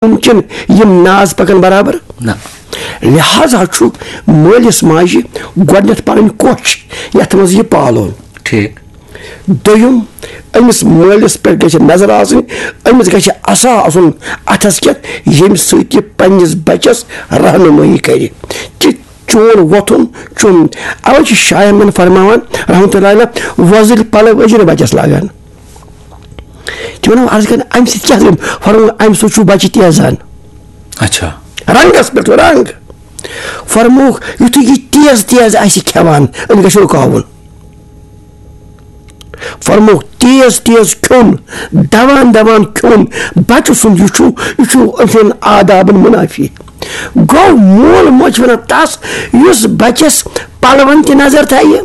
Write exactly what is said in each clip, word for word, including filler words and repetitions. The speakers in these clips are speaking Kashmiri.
کِنہٕ یِم ناز پکان برابر؟ نہ۔ لہذا چھُ مٲلِس ماجہِ گۄڈٕنٮ۪تھ پنٕنۍ کوٚش یتھ منٛز یہِ پالو۔ ٹھیک۔ دوٚیُم، أمِس مٲلِس پٮ۪ٹھ گژھِ نظر آسٕنۍ، أمِس گژھِ عصا آسُن اتھس کٮ۪تھ، ییٚمہِ سۭتۍ یہِ پننِس بچس رہنمٲیی کرِ کہِ چون وۄتھُن، چون۔ اوے چھِ شاعرن فرماوان رحمتہ اللہ علیہ، وۄزٕلۍ پلو ٲسۍ نہٕ بچس لاگان۔ تِمن آو عرض کرنہٕ، امہِ سۭتۍ کیٛاہ گوٚو؟ فرمووُن، امہِ سۭتۍ چھُ بچہِ تیزان۔ اچھا۔ رنگس پٮ۪ٹھ رنگ۔ فرمووُکھ، یُتھُے یہِ تیز تیز آسہِ کھٮ۪وان، أمِس گژھِ رُکاوُن۔ فرمووُکھ، تیز تیز کھیوٚن، دوان دوان کھیوٚن، بچہٕ سُنٛد یہِ چھُ، یہِ چھُ أمۍ سٕنٛدٮ۪ن آدابن منافی۔ گوٚو، مول موج چھِ وَنان تَس، یُس بَچَس پَلوَن تہِ نظر تھایہِ،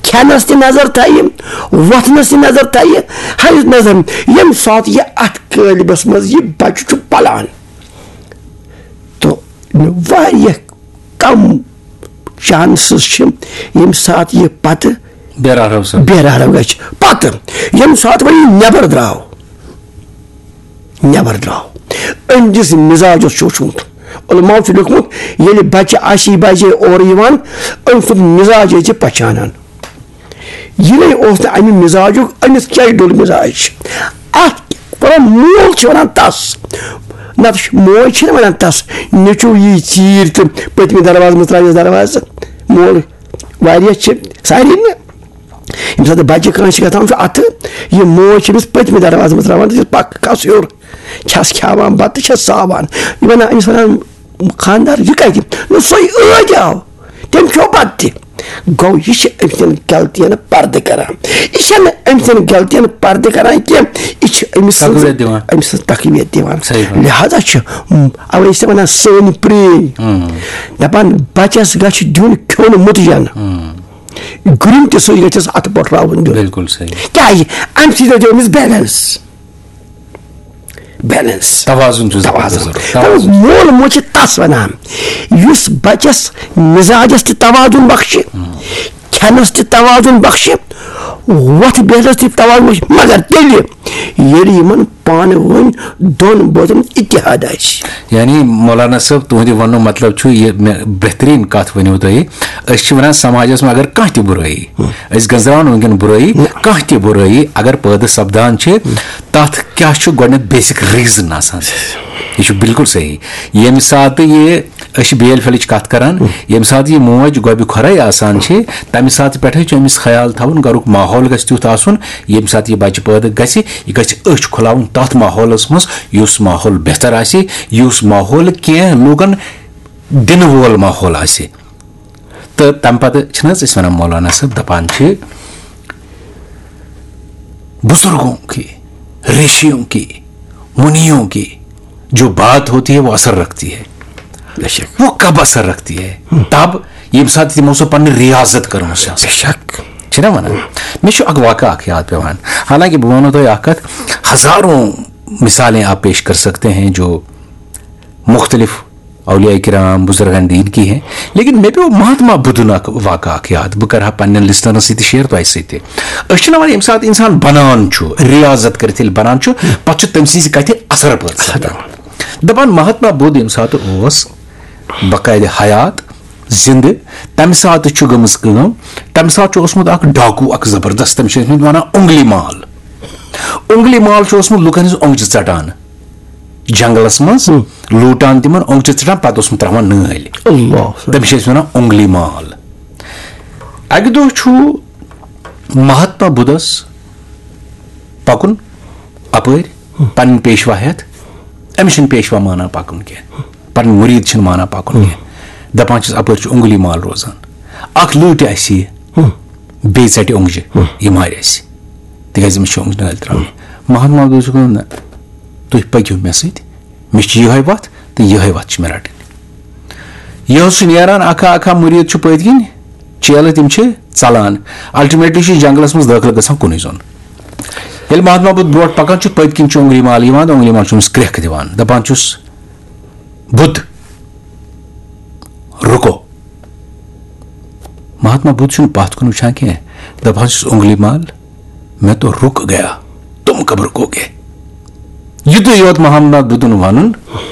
کھٮ۪نَس تہِ نظر تھایہِ، وۄتھنَس تہِ نظر تھایہِ، ہَرِ نظر، ییٚمہِ ساتہٕ یہِ اَتھ قٲلبَس منٛز یہِ بَچہٕ چھُ پَلان، تہٕ واریاہ کَم چانسز چھِ ییٚمہِ ساتہٕ یہِ پَتہٕ بیرارو سان۔ بیرارو گژھِ۔ پَتہٕ ییٚمہِ ساتہٕ وۄنۍ یہِ نٮ۪بَر درٛاو، نٮ۪بر درٛاو۔ أمۍ دِژ مِزاجَس چھُ وُچھمُت۔ علماو چھُ لیوٚکھمُت، ییٚلہِ بَچہِ آسی بَجے اورٕ یِوان، أمۍ سُنٛد مِزاج ٲسۍ زِ پہچانان۔ یہِ نے اوس نہٕ اَمہِ مِزاجُک، أمِس کیٛازِ ڈوٚل مِزاج؟ اَتھ وَنان مول چھِ وَنان تَس۔ نَتہٕ چھِ موج چھِنہٕ وَنان تَس، نیٚچوٗ یی ژیٖرۍ تہٕ پٔتمہِ دروازٕ منٛز ترٛاوٮ۪س دروازٕ۔ مول واریاہ چھِ سارے نہٕ۔ ییٚمہِ ساتہٕ بَچہِ کٲنٛسہِ گژھان چھُ اَتھٕ، یہِ موج چھِ أمِس پٔتمہِ دروازٕ منٛز ترٛاوان تہٕ چھِ پَکھ کھَس ہیوٚر، چھَس کھیٛاوان بَتہٕ، چھَس ساوان۔ یہِ وَنان، أمِس وَنان، "خانٛدار، یہِ کَتہِ؟" نہ، سُے ٲدۍ آو، تٔمۍ کھیوٚو بَتہٕ تہِ۔ گوٚو، یہِ چھِ أمۍ سٕنٛدٮ۪ن غلطیَن پَردٕ کَران۔ یہِ چھَنہٕ أمۍ سٕنٛدٮ۪ن غلطیَن پَردٕ کَران کینٛہہ، یہِ چھِ أمِس سٕنٛز، تقویت دِوان۔ أمۍ سٕنٛز تقویت دِوان۔ صحیح بات۔ لہذا چھِ، م، اَوَے چھِ وَنان سٲنۍ پرٛٲنۍ، ہم۔ دَپان، بَچَس گژھِ دیُن کھیوٚن مُتجَن۔ ہم۔ گرٛنٛٹہِ سۭتۍ گژھٮ۪س اَتھٕ پٲٹھراوُن دیُن۔ بِلکُل صحیح۔ کیٛازِ؟ اَمہِ سۭتۍ روزِ أمِس بیلنس۔ بیلنس۔ توازُن چھُ ضروٗرت۔ توازُن۔ توازُن۔ مول موج چھِ تَس وَنان، یُس بَچَس مِزاجَس تہِ توازُن بخشہِ، کھٮ۪نَس تہِ توازُن بخشہِ، وۄتھ بیٚہنَس تہِ توازُن بخشہِ، مگر تیٚلہِ ییٚلہِ یِمَن پانہٕ ؤنۍ دۄن بٲژن اتحاد آسہِ۔ یعنی مولانا صٲب، تُہنٛدِ وننُک مطلب چھُ یہِ، مےٚ بہتریٖن کتھ ؤنِو تُہۍ۔ أسۍ چھِ ونان سماجس منٛز اگر کانٛہہ تہِ بُرٲیی، أسۍ گنٛزراوان وٕنکیٚن بُرٲیی، نہ۔ کانٛہہ تہِ بُرٲیی اگر پٲدٕ سپدان چھِ، تتھ کیٛاہ چھُ گۄڈٕنیتھ بیسک ریٖزن آسان؟ یہِ چھُ بالکل صحیح۔ ییٚمہِ ساتہٕ یہِ أسۍ چھِ بیل پھلٕچ کتھ کران، ییٚمہِ ساتہٕ یہِ موج گۄبہِ کھۄرے آسان چھِ، تمہِ ساتہٕ پٮ۪ٹھے چھُ أمِس خیال تھاوُن، گرُک ماحول گژھِ تیُتھ آسُن، ییٚمہِ ساتہٕ یہِ بچہِ پٲدٕ گژھِ، یہِ گژھِ أچھ کھُلاوُن تتھ ماحولس منٛز، یُس ماحول بہتر آسہِ، یُس ماحول کینٛہہ لوٗکن دِنہٕ وول ماحول آسہِ۔ تہٕ تمہِ پتہٕ چھِنہٕ حظ أسۍ ونان، مولانا صٲب دپان چھِ، بزرگوں کی، رشیوں کی، منیوں کی جو بات ہوتی ہے، وہ اثر رکھتی ہے۔ بے شک۔ وہ کب اثر رکھتی ہے؟ ہم۔ تب، ییٚمہِ ساتہٕ تِمو سۄ پنٕنۍ ریاضت کٔرمٕژ چھِ آسان۔ بے شک۔ چھِنہ وَنان؟ مےٚ چھُ اکھ واقعہ اکھ یاد پٮ۪وان۔ حالانکہ بہٕ وَنو تۄہہِ اکھ کتھ، ہزاروں مثالیں آپ پیش کر سکتے ہیں جو مختلف اولیاء کرام، بزرگان دین کی ہیں، لیکن مےٚ پیوٚو مہاتما بدھن اکھ واقعہ اکھ یاد۔ بہٕ کرٕ ہا پننٮ۪ن لسنرن سۭتۍ تہِ شیئر، تۄہہِ سۭتۍ تہِ۔ أسۍ چھِنہ وَنان، ییٚمہِ ساتہٕ انسان بنان چھُ، ریاضت کٔرِتھ ییٚلہِ بنان چھُ، پتہٕ چھُ تٔمۍ سٕنٛزِ کتھِ اثر پٲدٕ سپدان۔ دپان، مہاتما بدھ ییٚمہِ ساتہٕ اوس باقاعدٕ حیات، زندٕ، تمہِ ساتہٕ چھُ گٔمٕژ کٲم، تمہِ ساتہٕ چھُ اوسمُت اکھ ڈاکوٗ اکھ زبردست، تٔمِس چھِ ٲسمٕتۍ ونان اُنگلی مال۔ اُنگلی مال چھُ اوسمُت لُکن ہٕنٛز اوٚنٛگجہِ ژٹان۔ جنگلس منٛز ہم۔ لوٗٹان تِمن، اوٚنٛگجہِ ژٹان، پتہٕ اوسمُت تراوان نٲلۍ۔ اللہ۔ تٔمِس چھِ أسۍ ونان اُنگلی مال۔ اکہِ دۄہ چھُ مہاتما بدھس پکُن اپٲرۍ، ہم۔ پنٕنۍ پیشوا ہٮ۪تھ۔ أمِس چھِنہٕ پیشوا مانان پکُن کینٛہہ، پنٕنۍ مُریٖد چھِنہٕ مانان پکُن ہم۔ کینٛہہ۔ دپان چھِس، اپٲرۍ چھُ اُنگلی مال روزان۔ اکھ لوٗٹہِ اسہِ یہِ، ہم۔ بیٚیہِ ژٹہِ اوٚنٛگجہِ، ہم۔ یہِ مارِ اسہِ، تِکیازِ أمِس چھِ اوٚنٛگجہِ نٲلۍ تراونہِ۔ مہاتما بدھ چھُ ونان، نہ، تُہۍ پٔکِو مےٚ سۭتۍ، مےٚ چھِ یِہوٚے وَتھ تہٕ یِہوٚے وَتھ چھِ مےٚ رَٹٕنۍ۔ یہِ حظ چھُ نیران، اَکھا اَکھا مُریٖد چھُ پٔتۍ کِنۍ، چیلہٕ تِم چھِ ژَلان۔ Ultimately چھُ یہِ جنٛگلَس منٛز دٲخلہٕ گژھان کُنُے زوٚن۔ ییٚلہِ مہاتما بُدھ برونٛٹھ پَکان چھُ، پٔتۍ کِنۍ چھُ اوٚنٛگلی مال یِوان تہٕ اوٚنٛگلی مال چھُ أمِس کرٛٮ۪کھ دِوان، دَپان چھُس، بُدھ، رُکو۔ مہاتما بُدھ چھُنہٕ پَتھ کُن وٕچھان کینٛہہ، دَپان چھُس، اوٚنٛگلی مال، میں تو رُک گیا، تم کب رُکو گے؟ یُتُے یوت محمد دُدُن وَنُن۔